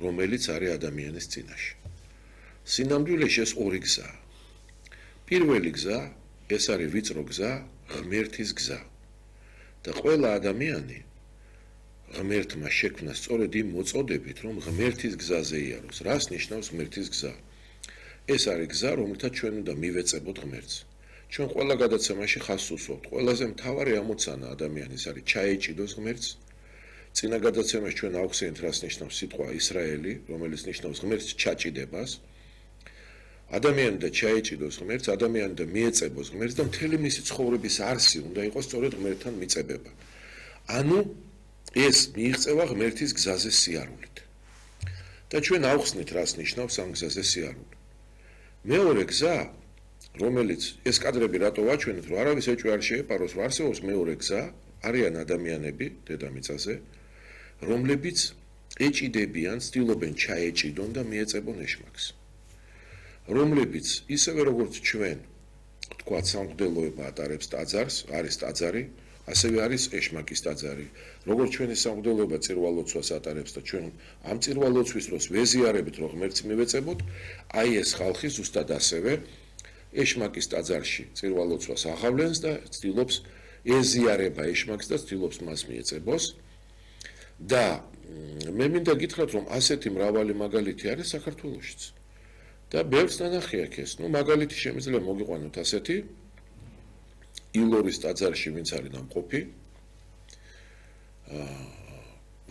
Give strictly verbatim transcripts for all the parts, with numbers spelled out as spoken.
რომელიც არის ადამიანის წინაშე. სინამდვილეში ეს ორი გზაა. პირველი გზა, ეს არის ვიწრო გზა, ღმერთის გზა. და ყველა ადამიანი ღმერთმა შექმნა სწორედ იმ მოწოდებით, რომ ღმერთის გზაზე იაროს. რას ნიშნავს ღმერთის გზა? ეს არის გზა, რომელთაც ჩვენ უნდა მივეწებოთ ღმერთს. ჩვენ ყველა გადაცემაში ხაზს უსვამთ. ყველაზე მთავარი ამოცანა ადამიანის არის ჩაეჭიდოს ღმერთს. წინა გადაცემაში ჩვენ ავხსენეთ, რას ნიშნავს სიტყვა ისრაელი, რომელიც ნიშნავს ღმერთს ჩაჭიდებას. ადამიანი და ჩაეჭიდოს ღმერთს, ადამიანი და მიეწებოს ღმერთს და მთელი მისი ცხოვრების არსი უნდა იყოს სწორედ ღმერთთან მიწებება. ანუ ეს მიიღწევა ღმერთის გზაზე სიარულით. და ჩვენ ავხსნით, რას ნიშნავს ამ გზაზე სიარული. მეორე გზა, რომელიც ეს კადრები რატო ვაჩვენეთ, რომ არავის ეჭვი არ შეეპაროს, რომ არსებობს მეორე გზა, არიან ადამიანები დედამიწაზე, რომლებიც ეჭიდებიან, ცდილობენ ჩაეჭიდონ და მიეწებონ ეშმაკს. რომლებიც ისევე როგორც ჩვენ, თქვათ, სამღვდელოება ატარებს ტაძარს, არის ტაძარი, ასევე არის ეშმაკის ტაძარი. როგორც ჩვენი სამღვდელოება წირვალოცვას ატარებს და ჩვენ ამ წირვალოცვის დროს ვეზიარებით, რომ ღმერთს მივეწებოთ, აი ეს ხალხი ზუსტად ასევე ეშმაკის ტაძარში წირვალოცვას აღავლენს და ცდილობს ეზიარება ეშმაკს და ცდილობს მას მიეწებოს. და მე მინდა გითხრათ, რომ ასეთი მრავალი მაგალითი არის საქართველოშიც. და ბევრს ნანახი აქ ეს. ნუ მაგალითი შემიძლია მოგიყვანოთ ასეთი ილორის ტაძარში, ვინც არის ნამყოფი.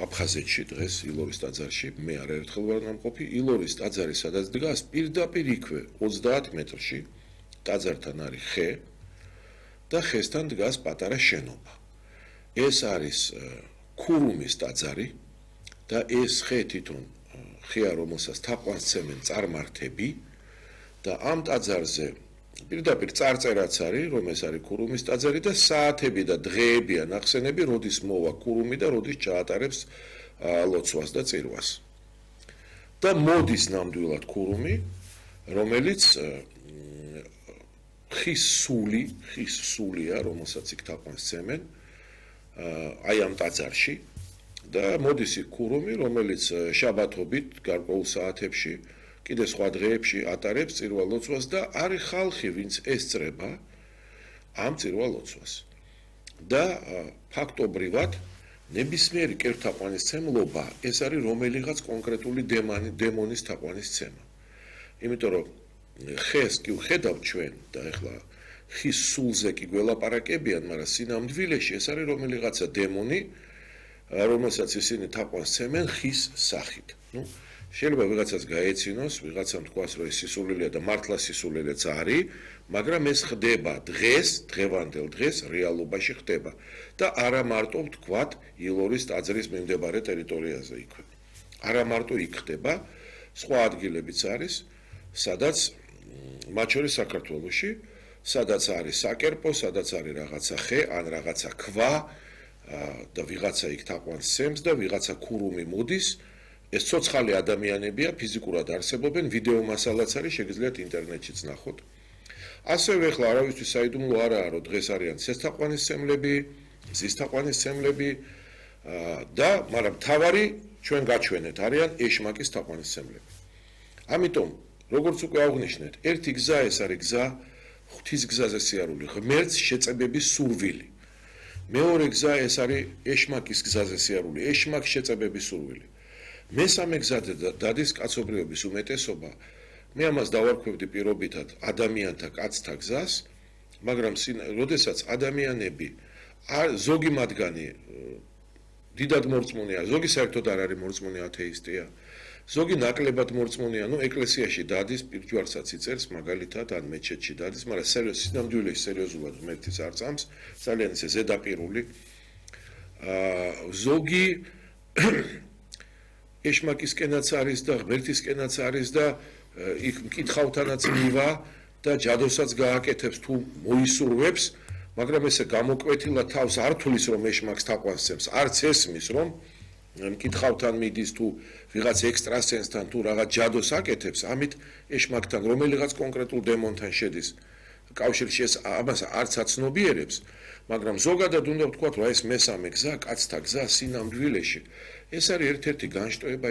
აფხაზეთში დღეს ილორის ტაძარში, მე არაერთხელ ვარ ნამყოფი. ილორის ტაძარი სადაც დგას, პირდაპირ იქვე ოცდაათ მეტრში ტაძართან არის ხე და ხესთან დგას პატარა შენობა. ეს არის ქურუმის ტაძარი და ეს ხე თვითონ ხეა, რომელსაც თაყვანისცემენ წარმართები და ამ ტაძარზე პირდაპირ წარწერაც არის, რომ ეს არის ქურუმის ტაძარი და საათები და დღეებია ნახსენები, როდის მოვა ქურუმი და როდის ჩაატარებს ლოცვას და წირვას. და მოდის ნამდვილად ქურუმი, რომელიც ხის სული, ხის სულია, რომელსაც იქ თაყვანისცემენ, აი ამ ტაძარში და მოდის იქ ქურუმი, რომელიც შაბათობით გარკვეულ საათებში კიდე სხვა დღეებში ატარებს წირვალოცვას და არის ხალხი, ვინც ესწრება ამ წირვალოცვას. და ფაქტობრივად ნებისმიერი კერთთაყვანისცემლობა ეს არის რომელიღაც კონკრეტული დემონის თაყვანისცემა. იმიტომ რომ ხეს კი ვხედავთ ჩვენ და ეხლა ხის სულზე კი გველაპარაკებიან, მაგრამ სინამდვილეში ეს არის რომელიღაცა დემონი, რომელსაც ისინი თაყვანისცემენ ხის სახით. ნუ შეიძლება ვიღაცას გაეცინოს, ვიღაცამ თქვას, რომ ეს სისულელია და მართლა სისულელეც არის, მაგრამ ეს ხდება დღეს, დღევანდელ დღეს რეალობაში ხდება და არა მარტო ვთქვათ ილორის ტაძრის მიმდებარე ტერიტორიაზე იქვე. არა მარტო იქ ხდება, სხვა ადგილებიც არის, სადაც მათ შორის საქართველოში, სადაც არის საკერპო, სადაც არის რაღაცა ხე, ან რაღაცა ქვა და ვიღაცა იქ თაყვანისცემს და ვიღაცა ქურუმი მოდის. ეს ცოცხალი ადამიანებია, ფიზიკურად არსებობენ, ვიდეო მასალაც არის, შეგიძლიათ ინტერნეტშიც ნახოთ. ასევე ახლა არავისთვის საიდუმლო არაა, რომ დღეს არიან ცეცხთაყვანისცემლები, ზისთაყვანისცემლები და მაგრამ მთავარი ჩვენ გაჩვენეთ არიან ეშმაკის თაყვანისცემლები. ამიტომ როგორც უკვე აღნიშნეთ, ერთი გზა ეს არის გზა ღვთის გზაზე სიარული, ღმერთს შეწებების სურვილი. მეორე გზა ეს არის ეშმაკის გზაზე სიარული, ეშმაკს შეწებების სურვილი. მესამე გზა დადის კაცობრიობის უმეტესობა. მე ამას დავარქვევდი პირობითად ადამიანთა კაცთა გზას, მაგრამ როდესაც ადამიანები ზოგი მათგანი დიდად მორწმუნეა, ზოგი საერთოდ არ არის მორწმუნე ათეისტია, ზოგი ნაკლებად მორწმუნეა, ნუ ეკლესიაში დადის, პირჯვარსაც იწერს, მაგალითად ან მეჩეთში დადის, მაგრამ სინამდვილეში სერიოზულად ღმერთის არ წამს, ძალიან ისე ზედაპირული. ზოგი ეშმაკისკენაც არის და ღმერთისკენაც არის და იქ მკითხავთანაც მივა და ჯადოსაც გააკეთებს თუ მოისურვებს, მაგრამ ესე გამოკვეთილად თავს არ თulis რომ ეშმაკს თაყვანისცემს, არც ესმის რომ მკითხავთან მიდის თუ ვიღაც ექსტრასენსთან თუ რაღაც ჯადოს აკეთებს, ამით ეშმაკთან რომელიღაც კონკრეტულ დემონთან შედის კავშირში, ეს ამას არც აცნობიერებს, მაგრამ ზოგადად უნდა ვთქვათ, რომ ეს მესამე გზა, კაცთა გზა სინამდვილეში, ეს არის ერთ-ერთი განშტოება